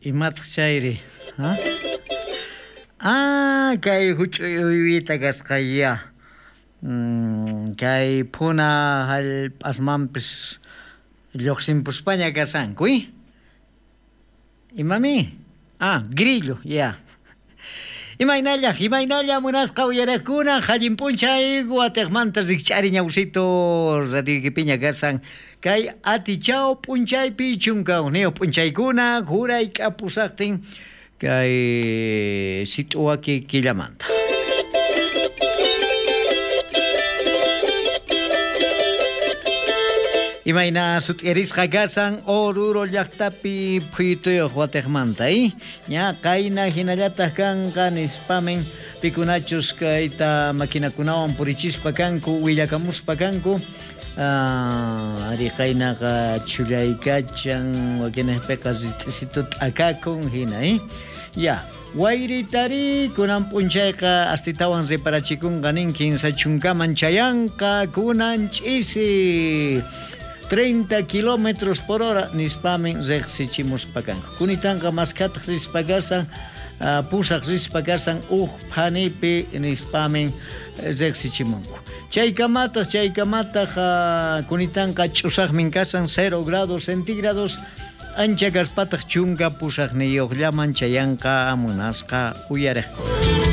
Imataq chayri? Ha? Ah, kay huch'uy uywita kasqaya. Kay phuna hallp'asmanpis lluqsimpuspaña kashanku, ¿eh? Imami? Ah, grillo, ya. Imaynalla, imaynalla munasqa uyariqkuna, allin p'unchay watiqmanta rikch'ari ñawsito radioykipiña kashan kay atichao p'unchaypi 11 p'unchaykuna juray k'apusaqtin kay sit'uwaki killamanta. Imayna sut'irisqa kashan Oruro llaqtapi phuyutuyuq watiqmanta, ¿eh? Ña qayna hinallataq kanqa nispamin pikunachus kayta maquinakunawan purichispa kanku, willakamuspa kanku. Ari qaynaqa chhullaykachan, wakinejpiqa rit'isitu t'akakun hina, ¿eh? Ya, wayritari kunan p'unchayqa astitawan reparachikunqa nin 30 chayanqa kunan ch'isi 30 kilómetros por hora nispamin riqsichimuspa kanku. Kunitanqa maskhataq rispa kasan, pusaq rispa kasan uj phanipi nispamin riqsichimunku. Chaykamataq kunitanqa ch'usaqmin kasan 0 grados centígrados ancha kaspataq 18llaman chayanqa munasqa uyariqkuna.